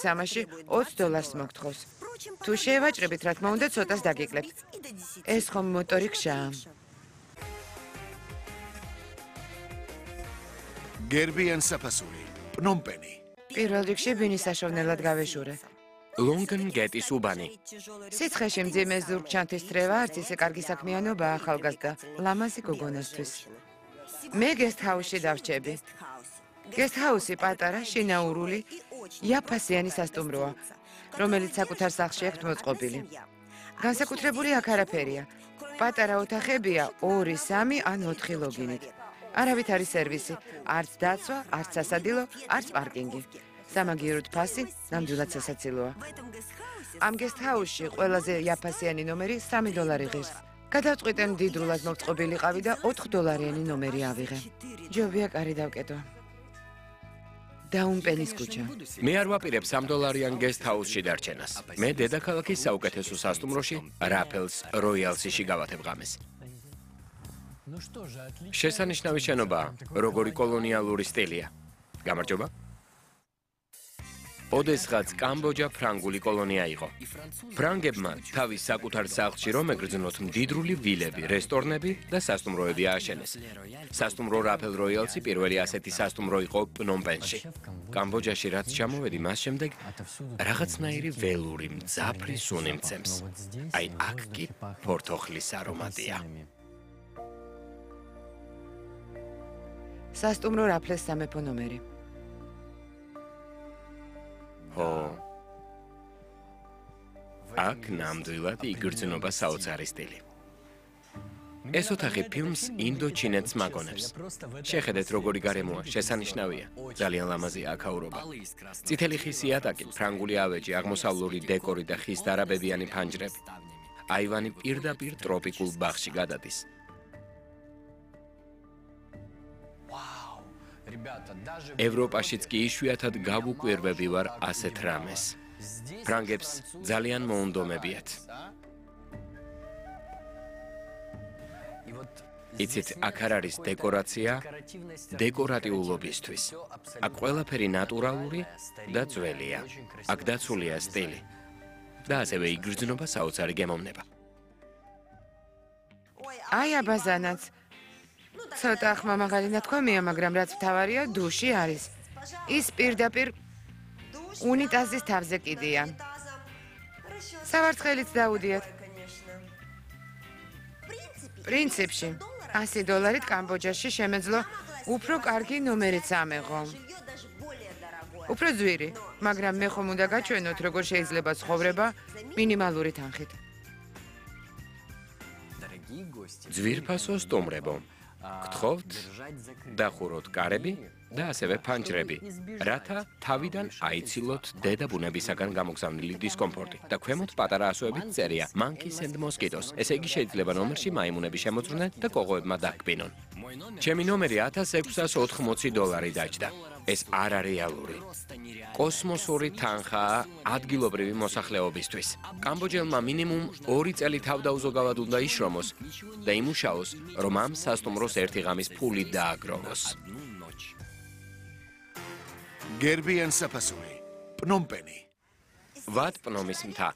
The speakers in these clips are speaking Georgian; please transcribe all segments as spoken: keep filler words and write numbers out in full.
სამაში ოცი დოლარს მოგთხოვს. თუ შევაჭრებით, რა თქმა უნდა, ცოტას დაგიკლებთ. ეს ხომ მოტორი ქშაა. გერბიან საფასური, პნომპენი. პირველ რიგში ბინის საშოვნელად გავეშურე. ლონგენ გეტის უბანი. სიცხეში მძიმე ზურგჩანთის თრევა არც ისე კარგი საქმიანობა ახალგაზრდა ლამაზი გოგონასთვის. მე გესტჰაუსში დავრჩები. გესტჰაუსი პატარა, შინაურული, იაფასიანი სასტუმროა, რომელიც საკუთარ სახლში აქვთ მოწყობილი. განსაკუთრებული აქ არაფერია. პატარა ოთახებია ორი, სამი ან ოთხი ლოგინით. არავით არის სერვისი, არც დაცვა, არც სასადილო, არც პარკინგი. სამაგიეროდ ფასი, ნამდვილად სასაცილოა. ამ გესტჰაუსში ყველაზე იაფასიანი ნომერი სამი დოლარი ღირს. გადავწყვიტე მდიდრულად მოწყობილიყავი და ოთხ დოლარიანი ნომერი ავიღე. ჯობია კარი დავკეტო. დაუმპენის ქუჩა. მე არ ვაპირებ სამ დოლარიან გესტჰაუსში დარჩენას. მე დედაქალაქის საუკეთესო სასტუმროში, რაფელს როიალსში გავათებ ღამეს. შესანიშნავი შენობაა, როგორი კოლონიალური სტილია. გამარჯობა. ოდესღაც კამბოჯა ფრანგული კოლონია იყო. ფრანგებმა თავის საკუთარ სახლში რომ ეგრძნოთ მდიდრული ვილები, რესტორნები და სასტუმროები ააშენეს. სასტუმრო რაფელ როიალსი პირველი ასეთი სასტუმრო იყო პნომპენში. კამბოჯაში რაც ჩამოვედი, მას შემდეგ რაღაცნაირი ველური მძაფრი სუნი მცემს. აი აქ კი ფორთოხლის არომატია. სასტუმრო რაფლეს სამეფო ნომერი. ო აქ ნამდვილად იგრძნობა საოცარი სტილი. ეს ოთახი ფილმს ინდოჩინეთს მაგონებს. შეხედეთ როგორი გარემოა, შესანიშნავია. ძალიან ლამაზია აქაურობა. წითელი ხის იატაკი, ფრანგული ავეჯი, აღმოსავლური დეკორი და ხის დარაბებიანი ფანჯრები. აივანი პირდაპირ ტროპიკულ ბაღში გადადის. ევროპაშიც კი იშვიათად გავუკვირვები ვარ ასეთ რამეს. ფრანგებს ძალიან მოუნდომებიათ. იცით, აქ არ არის დეკორაცია დეკორატიულობისთვის. აქ ყველაფერი ნატურალური და ძველია. აქ დაცულია სტილი. და ასევე იგრძნობა საოცარი გემოვნება. აი აბაზანაც. ცოტა ახმამაღალი ნათქვამია, მაგრამ რაც მთავარია, დუში არის. ის პირდაპირ უნიტაზის თავზე კიდია. სავარცხელიც დაუდიათ. პრინციპში, ასი დოლარით კამბოჯაში შემეძლო უფრო კარგი ნომერიც ამეღო. უფრო ძვირი, მაგრამ მე ხომ უნდა გაჩვენოთ, როგორ შეიძლება ცხოვრება მინიმალური თანხით. ძვირფასო სტუმრებო, გთხოვთ დახუროთ კარები და ასევე ფანჯრები, რათა თავიდან აიცილოთ დედა ბუნებისაგან გამოგზავნილი დისკომფორტი და ქვემოთ პატარა ასოებით წერია monkeys and mosquitoes. ესე იგი შეიძლება ნომერში მაიმუნები შემოწვრნენ და კოღოებმა დაჰკბინონ. ჩემი ნომერი ათას ექვსას ოთხმოცი დოლარი დაჯდა. ეს არარეალური. კოსმოსური თანხაა ადგილობრივი მოსახლეობისთვის. კამბოჯელმა მინიმუმ ორი წელი თავდაუზოგავად უნდა იშრომოს და იმუშაოს, რომ ამ სასტუმროს ერთი ღამის ფული დააგროვოს. გერბიან საფასური, პნომპენი. ვატ პნომის მთა.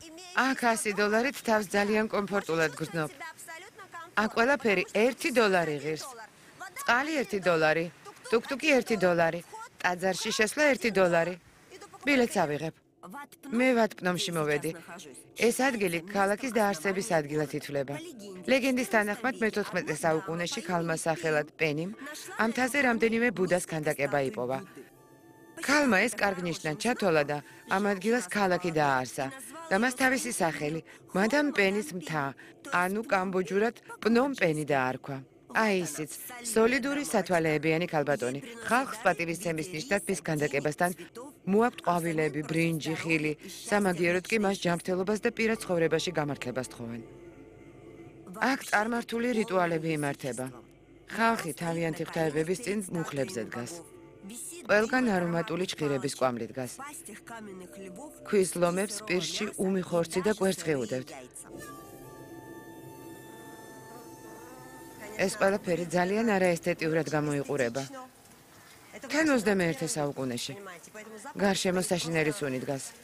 აქ ასი დოლარით თავს ძალიან კომფორტულად გრძნობ. აქ ყველაფერი ერთი დოლარი ღირს. წყალი ერთი დოლარი, ტუკტუკი ერთი დოლარი, ტაძარში შესვლა ერთი დოლარი. ბილეთს ავიღებ. მე ვატპნომში მოვედი. ეს ადგილი ქალაქის დაარსების ადგილად ითვლება. ლეგენდის თანახმად მეთოთხმეტე საუკუნეში ქალმა სახელად პენიმ ამ მთაზე რამდენიმე ბუდას ქანდაკება იპოვა. ქალმა ეს კარგ ნიშნად ჩათვალა და ამ ადგილას ქალაქი დააარსა და მას თავისი სახელი მადამ პენის მთა, ანუ კამბოჯურად პნომპენი დაარქვა. აი ისიც, სოლიდური სათვალეებიანი ქალბატონი. ხალხს პატივისცემის ნიშნად მის ქანდაკებასთან მოაქვთ ყვავილები, ბრინჯი, ხილი, სამაგიეროდ კი მას ჯანმრთელობას და პირად ცხოვრებაში გამართლებას თხოვენ. აქ წარმართული რიტუალები იმართება. ხალხი თავიანთი ღვთაებების წინ მუხლებზე დგას. ყველგან არომატული ჭხირების კვამლი დგას. ქვის ლომებს პირში უმი ხორცი და კვერცხი უდევთ. ეს ყველაფერი ძალიან არაესთეტიურად გამოიყურება. თან ოცდამეერთე საუკუნეში. გარშემო საშინელი სუნი დგას.